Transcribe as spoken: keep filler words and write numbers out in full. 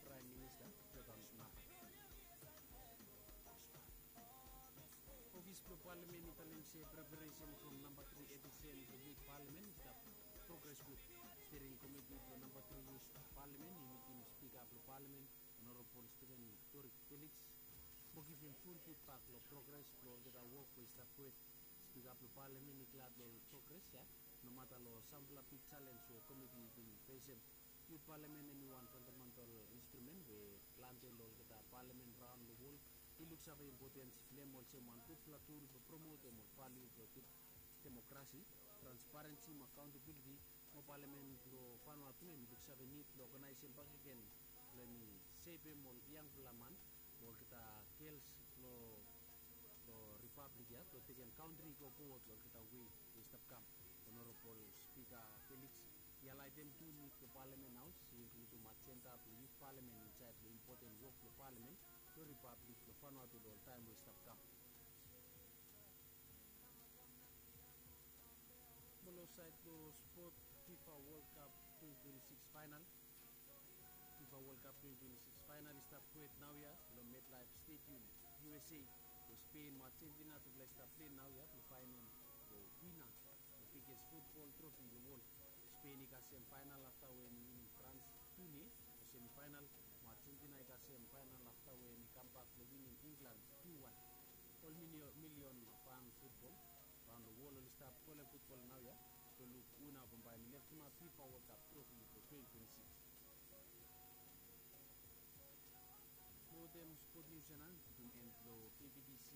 Praem Minista Jotam Napat. Ofis blong Palamen i talem se preparesen from namba tri edisen blong Yut Palamen i stap progres gud. Stiring komiti blong namba tri Yut Palamen i mitim Spika blong Palamen, Honorabol Steven Torik Felix, mo givim ful fidbak long progres blong olgeta wok we i stap gohed. Spika blong Palamen i glad long progres ya, nomata long sampela big selens we komiti i bin fesem. Yut Palamen hemi wan fandamantal instrumen we plante long olgeta palamen raon long wol i luksave impotens blong hem olsem wan gudfala tul blong promotem ol valiu blong demokrasi, transparensi mo akaontabiliti. Mo palamen blong Vanuatu hemi luksave nid blong oganaesem bakegen blong hemi sevem ol yangfala man mo olgeta gels long long ripablik ya blong tekem kantri i go fowod long olgeta we i stap kam. Honorabol Spika Felix i hailaetem tu nid blong Palamen Haos i inkludim ajenda blong Yut Palamen insaed long impoten wok blong Palamen blong Ripablik blong Vanuatu long ol taem we i stap kam. Mo long saed blong spot, FIFA World Cup twenty twenty-six final. FIFA World Cup twenty twenty-six final i stap gohed naoia long MetLife Stadium, U S A. Long Spen mo Argentina tufala i stap pilei naoia blong faenem long wina long biges futbol trofi long wol. Spen i kasem final afta we hemi winim Frans tu nil long semifainal, mo Argentina i kasem final afta we hemi kambak blong winim Inglan tu wan. Ol milion fan futbol raon long wol oli stap folem futbol naoia blong luk wina bambae hemi leftemap FIFA World Cup trofi blong twenty twenty-six. Mo wetem spot nius ya nao mi putum en blong K B B C